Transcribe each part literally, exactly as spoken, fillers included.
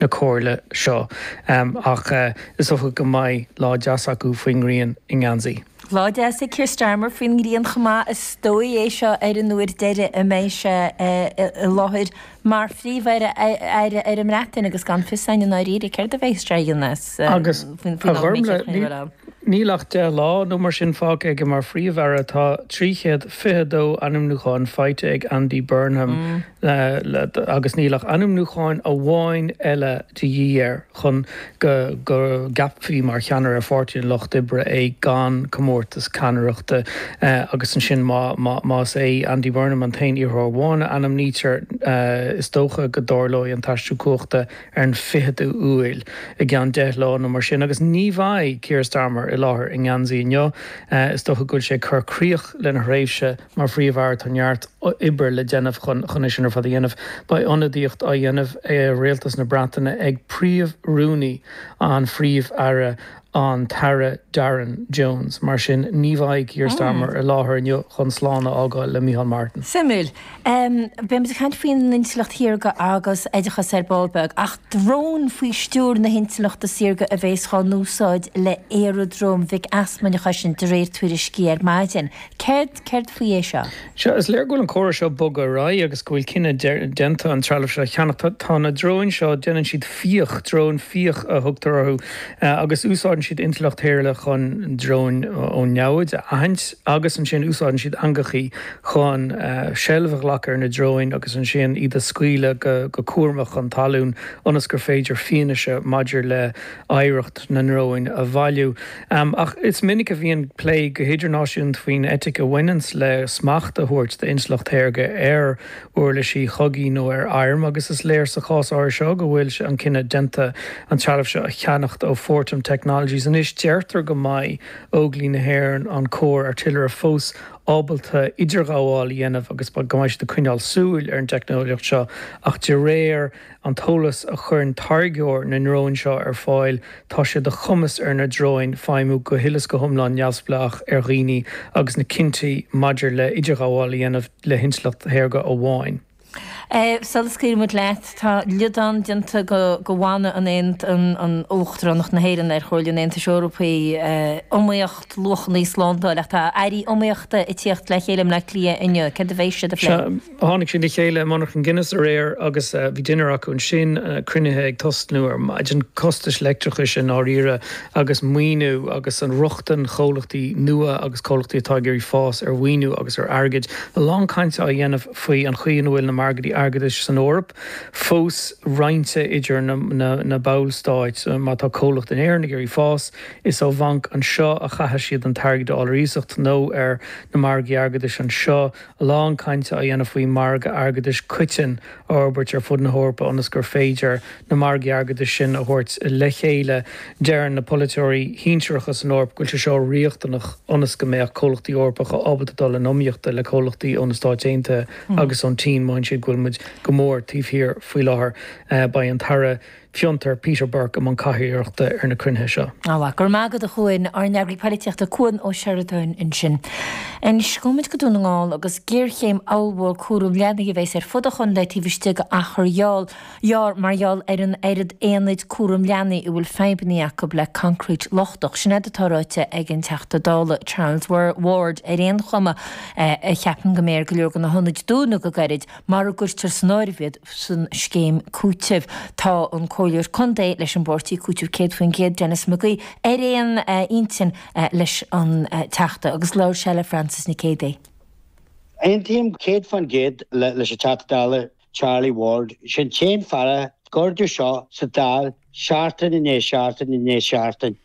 na comhairle seo. Ach is dócha go mbeidh lá deas acu faoin ngrian i nGeansaí. Lá deas ag Keir Starmer faoin ngrian chomh maith. Is dóigh é seo ar an uair deiridh a mbeidh sé i láthair mar Phríomh-Aire ar an mBreatain agus gan fios againn i ndáiríre céard a bheidh sé a dhéanamh Agus faoin a am a mbeidh sé Ghormfhlaith, chun a bheith ann. Níl ach deich lá nó mar sin fágtha aige mar Phríomh-Aire. Tá trí chéad fiche dó ainmniúchán faighte ag Andy Burnham agus níl ach ainmniúchán amháin eile de dhíth air chun go go gceapfaí mar cheannaire Pháirtí an Lucht Oibre é gan comórtas ceannaireachta agus ansin má más é Andy Burnham an t-aon iarrthóir amháin a ainmnítear is dócha go dtarlóidh an t-aistriú cumhachta ar an ficheadú Iúil i gceann deich lá nó mar sin agus ní bheidh Keir Starmer i láthair i nGeansaí inniu. Is dócha go bhfuil sé ag cur críoch lena thréimhse mar Phríomh-Aire. Tá neart oibre le déanamh chun chun é sin ar fad a dhéanamh. Beidh ionadaíocht á dhéanamh ar Rialtas na Breataine ag Príomh-Rúnaí an Phríomh-Aire an tAire Darren Jones. Mar sin ní bheidh Keir Starmer i láthair inniu chun slán a fhágáil le Micheál Martin. Suimiúil. Beidh muid ag caint faoin intleacht shaorga agus oideachas ar ball beag, ach dróin faoi stiúir na hintleachta saorga a bheas á n-úsáid le aeradróm Mhic Easmainn a chosaint de réir tuairiscí ar maidin. Céard céard faoi é seo? Sea, is léir go bhfuil an comhrá seo ag bogadh ar aghaidh agus go bhfuil cinneadh déanta an trealamh seo a cheannach. Tá na dróin seo, déanann siad fiach, dróin fiach a thugtar orthu, agus úsáideann siad intleacht shaorga chun dróin ón neamhaid a aithint agus ansin úsáideann siad eangachaí chun seilbh a ghlacadh ar na dróin agus ansin iad a scaoileadh go cúramach chun talún ionas gur féidir fianaise maidir le hoidhreacht na ndróin a bhailiú. Ach is minic a bhíonn plé go hidirnáisiúnta faoin eitic a bhaineanns le smacht a thabhairt d'intleacht shaorga ar uirlisí chogaidh nó ar airm agus is léir sa chás áirithe seo go bhfuil an cinneadh déanta an trealamh seo a cheannacht ó Fortem Technologies. Anois deirtear go mbeidh Óglaigh na hÉireann, an Cór Airtillire fós ábalta idirghabháil a dhéanamh agus go mbeidh siad ag coinneáil súil ar an teicneolaíocht seo ach de réir an t-eolas a chuireann táirgeoir na ndrón seo ar fáil tá sé de chumas ar na dróin feidhmiú go huile is go hiomlán neamhspleách ar dhaoine agus na cinntí maidir le idirghabháil a dhéanamh le hintleacht shaorga amháin. Sula scaoilfidh muid leat, tá liodán déanta de mhana an an Uachtaránacht na hÉireann ar Chomhairle an Aontais Eorpaigh, iomaíocht, luachanna, slándáil, ach tá airí iomaíochta ag tíocht le chéile i mBleá Cliath inniu. Céard a bheidh siad a phlé? Tháinig siad le chéile i monarcha Guinness aréir agus bhí dinnéar acu ansin, cruinnithe ag tosnú ar maidin, costais leictreachais i ndáiríre agus maoiniú agus an rochtain chomhlachtaí nua agus comhlachtaí atá ag iarraidh fás ar mhaoiniú agus ar airgead. A lán cainte á dhéanamh faoi an chaoi ina bhfuil na margaí airgeadais san Eoraip fós roinnte idir na, na, na ballstáit. Má tá comhlacht in Éirinn ag iarraidh fás, is ó bhanc anseo a chaithfidh siad an t-airgead a fháil ar iasacht nó ar na margaí airgeadais anseo. A lán cainte á dhéanamh faoi mhargadh airgeadais coiteann a fhorbairt ar fud na hEorpa ionas gur féidir na margaí airgeadais sin a thabhairt le chéile. Deireann na polaiteoirí sinsearacha san Eoraip go bhfuil sé seo riachtanach ionas go mbeadh comhlachtaí Eorpacha ábalta dul in iomaíocht le comhlachtaí ó na Stáit Aontaithe agus ón tSín. Maíonn siad go bhfuil muid go mór taobh thiar faoi láthair. Beidh an tAire Fiontar Peter Burke i mbun cathaoirleachta ar na cruinnithe seo. Á, go raibh maith agat a Chuain, ár n-eagraí polaitíochta Cuan Ó Seireadáin ansin. Anois, gabhfaidh muid go Dún na nGall agus géarchéim ollmhór cúram leanaí a bheas ar fud an chontae taobh istigh d'achar ghearr mar gheall ar an oiread aonaid cúram leanaí a bhfuil fadhbanna acu le concrete lochtach. Sin é atá ráite ag an Teachta Dála Charles Ward ar aon chuma a cheapann go mbeidh ar go leor de na hionaid dúnadh go gairid mara gcuirtear san áireamh iad san scéim cúitimh. Tá an Comhairleoir Contae leis an bpáirtí Cúiteamh céad faoin gcéad, Denis McGee, ar aon intinn leis an Teachta agus labhair sé le Frances Nic Géadaigh. Aontaím céad faoin gcéad leis an Teachta Dála Charlie Ward. Sin t-aon fear a gcuirtear seo sa Dáil seachtain i ndiaidh seachtain i ndiaidh seachtain.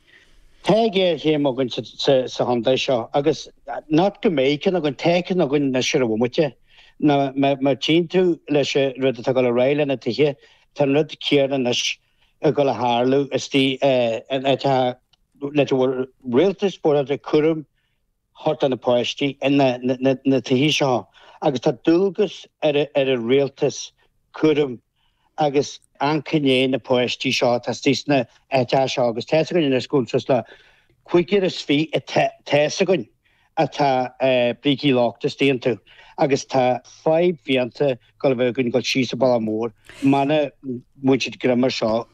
Tá géarchéim againn sa chontae seo agus not go mbeidh ceann againn, tá ceann againn anois ar an bhomaite. Má tchíonn tú leis an rud atá ag dul ar aghaidh le na tithe, tá an rud céanna anois ag dul a tharlú istigh in áit a le bhfuil rialtas buartha cúram thabhairt do na páistí na tithe seo agus tá dualgas ar an rialtas cúram agus ancoiné na páistí seo atá istigh sna áiteacha seo agus tá's againn anois go bhfuil suas le cúigear is fiche tá's againn atá brící lochta istigh iontu agus tá fadhb fiánta go bheith gun go síos a ball mór mana muid greimar seo.